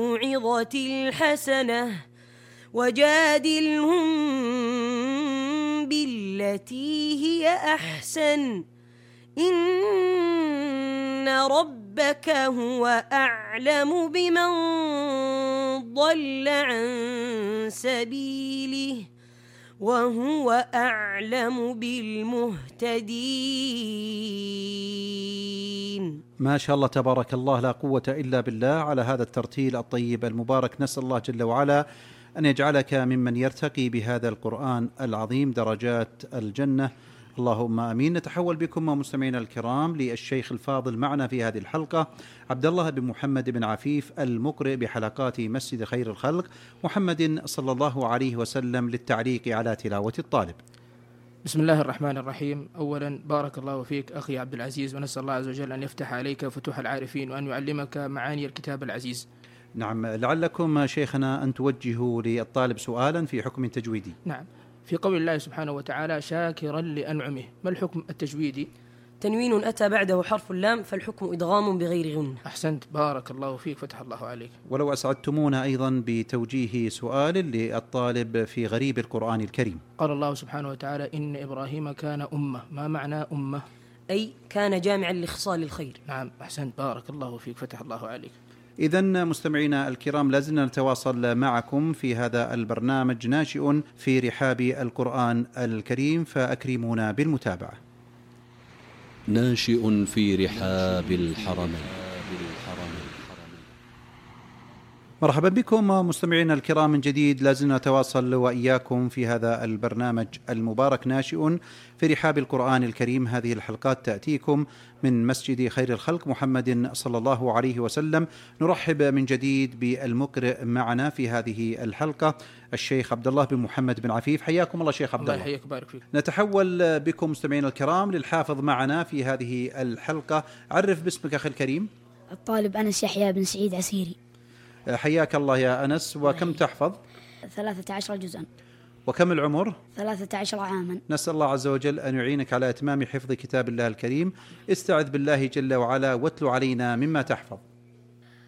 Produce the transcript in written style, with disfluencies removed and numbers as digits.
الموعظة الحسنة وجادلهم بالتي هي أحسن إن ربك هو أعلم بمن ضل عن سبيله وهو أعلم بالمهتدين. ما شاء الله تبارك الله، لا قوة إلا بالله على هذا الترتيل الطيب المبارك. نسأل الله جل وعلا أن يجعلك ممن يرتقي بهذا القرآن العظيم درجات الجنة، اللهم آمين. نتحول بكم مستمعينا الكرام للشيخ الفاضل معنا في هذه الحلقة، عبد الله بن محمد بن عفيف، المقرئ بحلقات مسجد خير الخلق محمد صلى الله عليه وسلم، للتعليق على تلاوة الطالب. بسم الله الرحمن الرحيم. أولا بارك الله فيك أخي عبد العزيز، ونسأل الله عز وجل أن يفتح عليك فتوح العارفين وأن يعلمك معاني الكتاب العزيز. نعم، لعلكم شيخنا أن توجهوا للطالب سؤالا في حكم تجويدي. نعم، في قول الله سبحانه وتعالى شاكرا لأنعمه، ما الحكم التجويدي؟ تنوين أتى بعده حرف اللام فالحكم إدغام بغير غن. أحسنت، بارك الله فيك، فتح الله عليك. ولو أسعدتمونا أيضا بتوجيه سؤال للطالب في غريب القرآن الكريم. قال الله سبحانه وتعالى إن إبراهيم كان أمة، ما معنى أمة؟ أي كان جامعا لخصال الخير. نعم أحسنت، بارك الله فيك، فتح الله عليك. إذن مستمعينا الكرام، لازلنا نتواصل معكم في هذا البرنامج ناشئ في رحاب القرآن الكريم، فأكرمونا بالمتابعة. ناشئ في رحاب الحرمين. مرحبا بكم مستمعينا الكرام من جديد، لازلنا نتواصل وإياكم في هذا البرنامج المبارك ناشئ في رحاب القرآن الكريم. هذه الحلقات تأتيكم من مسجد خير الخلق محمد صلى الله عليه وسلم. نرحب من جديد بالمقرئ معنا في هذه الحلقة الشيخ عبد الله بن محمد بن عفيف. حياكم الله شيخ عبد الله. الله يحييك، بارك فيك. نتحول بكم مستمعينا الكرام للحافظ معنا في هذه الحلقة. عرف باسمك أخي الكريم. الطالب أنس يحيى بن سعيد عسيري. حياك الله يا أنس. وكم تحفظ؟ 13 جزءا. وكم العمر؟ 13 عاما. نسأل الله عز وجل أن يعينك على إتمام حفظ كتاب الله الكريم. استعذ بالله جل وعلا واتل علينا مما تحفظ.